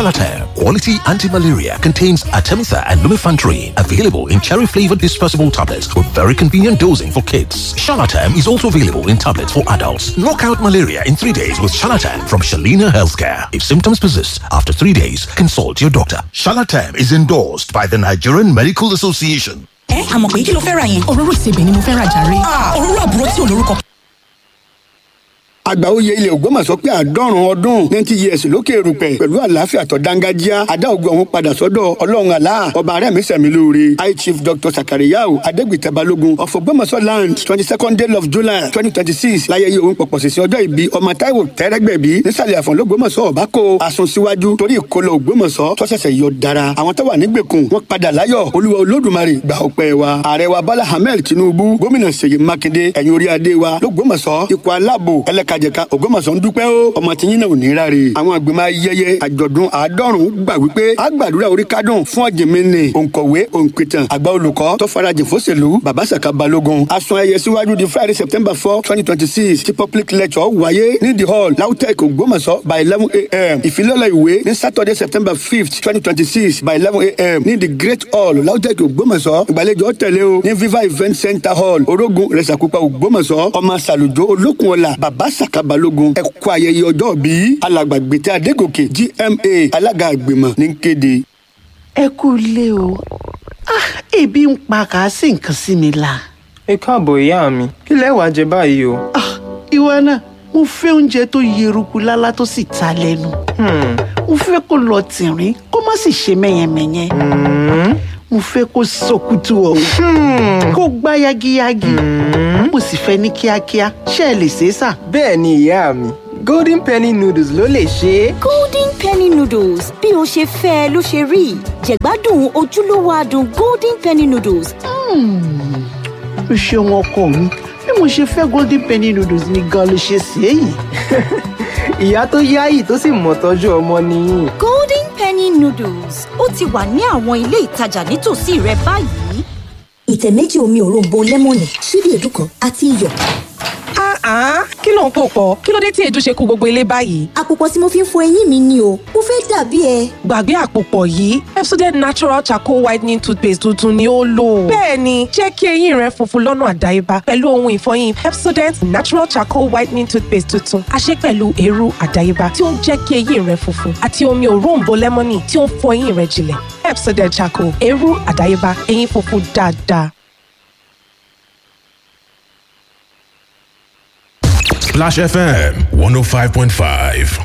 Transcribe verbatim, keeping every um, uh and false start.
Shalatam Quality Anti-Malaria contains Artemether and Lumefantrine. Available in cherry-flavored dispersible tablets with very convenient dosing for kids. Shalatam is also available in tablets for adults. Knock out malaria in three days with Shalatam from Shalina Healthcare. If symptoms persist after three days, consult your doctor. Shalatam is endorsed by the Nigerian Medical Association. Ẹ àmọ̀ pé kí ló fẹ́ ra yẹn. Òróró ìsebẹ̀ ni mo fẹ́ ra jàre. Òróró àbúrò tí ò lórúkọ. Àgbàoyè ilẹ̀ Ògbómọ̀ṣọ́ pé àádọ́rùn ọdún ninety years lókè erùpẹ̀ pẹ̀lú àlàáfíà tó dángájíá adá ògo ọ̀hún padà sọ́dọ̀ Ọlọ́run àlá ọba rẹ̀mí sẹ̀mí lóore. High Chief Doctor Sakariyau Adégbìtẹ́ Balógun of Ògbómọ̀ṣọ́ land, twenty second day of July twenty twenty six láyẹyẹ òun pọ̀pọ̀ sísè ọjọ́ ìbí ọmọ Táíwò Tẹ́rẹ́gbẹ̀bí nísàlẹ̀ Àfọ̀n l'Ógbómọ̀ṣọ́ ọ̀bákò àsun síwájú torí ìkọlọ Ògbómọ̀ṣọ́ tó ṣẹ̀ṣẹ̀ yọ dára àwọn tó wà nígbèkùn wọn padà láyọ̀. Olúwa Olódùmarè gbà ọpẹ́ wa. Ààrẹ wa Bọ́lá Ahmed Tinubu, gómìnà Ṣèyí Mákindé, ẹ̀yin orí adé wa l'Ógbómọ̀ṣọ́, ikọ̀ aláàbò ẹlẹ́kajẹ̀ka Ògbómọ̀ṣọ́ ń dúpẹ́ ó ọmọ tí yín náà ò ní ráre. Àwọn àgbìmọ̀ ayẹyẹ àjọ̀dún àádọ́rùn gbà wípé a gbàdúrà orí kádùn fún ọ̀jìnmínì òǹkọ̀wé òǹpìtàn àgbà olùkọ́ tó farajìn fóṣèlú bàbá Sàká Balógun. Asun ayẹyẹ síwájú di Friday, September four twenty twenty six tí public lecture wáyé ní the hall LAUTECH Ògbómọ̀ṣọ́ by eleven a m. Ìfilọ́lẹ̀ ìwé ní Saturday, September fifth twenty twenty six by eleven a m ní the Great Hall, LAUTECH Ògbómọ̀ṣọ́. Ìgbàlejò tẹ̀lé o ní Viva Event Center Hall, Orógun Rẹ̀sàkúpa, Ògbómọ̀ṣọ́. Ọmọ Sàlùjọ Olókun ọ̀la bàbá Sàká Balógun, ẹ kú ayẹyẹ ọjọ́ bí. Alàgbà Gbètè Adégòkè G M A, alága àgbìmọ̀ ní kéde. Ẹ kú ilé o. Ah, ebi ń pa kàásì nǹkan sí mi la. Ẹ káàbọ̀ ìyá mi, kí lẹ wàá jẹ báyìí o? Ah, ìwọ náà, mo fẹ́ oúnjẹ tó yeruku lálá tó sì ta lẹ́nu. Mo fẹ́ kó lọ tìrín kó má sì ṣe mẹ́yẹmẹ́yẹ. Mo fẹ́ kó sọkútù ọ̀hún kó gbá yagiyagi. Mo sì fẹ́ ní kíákíá, ṣé ẹ lè ṣe é sà? Bẹ́ẹ̀ ni ìyá mi, Golden Penny noodles ló lè ṣe é. Golden Penny noodles, bí o ṣe fẹ́ ẹ ló ṣe rí. Jẹ̀gbádùn ojúlówó adùn Golden Penny noodles. O ṣeun ọkọ mi, bí mo ṣe fẹ́ Golden Penny noodles ni gan ló ṣe ṣe é yìí. Ìyá tó yáyì tó sì mọ̀ tọ́jú ọmọ nìyí. Golden Penny noodles ó ti wà ní àwọn ilé ìtajà nítòsí rẹ báyìí. Ìtẹ̀ méjì omi òróǹbó lẹ́mọ̀nì, ṣíbí èédú kan àti iyọ̀. Ah, kí ló ń pò pọ̀? Kí ló dé tí èédú ṣe kó gbogbo ilé báyìí? Àpòpọ̀ tí mo fi ń fọ eyín mi ni o, mo fẹ́ dàbí ẹ. Gbàgbé àpòpọ̀ yìí, Pepsodent Natural Charcoal Whitening Toothpaste tuntun ni ó lò. Bẹ́ẹ̀ni, jẹ́ kí eyín rẹ funfun lọ́nà àdáyébá pẹ̀lú ohun ìfọyín Pepsodent Natural Charcoal Whitening Toothpaste tuntun. A ṣe pẹ̀lú eérú àdáyébá tí ó ń jẹ́ kí eyín rẹ funfun àti omi òróǹbó lẹ́mọ́nì tí ó ń fọ eyín rẹ jinlẹ̀. Pepsodent Charcoal, eérú àdáyébá, eyín funfun dáadáa. Splash F M one oh five point five.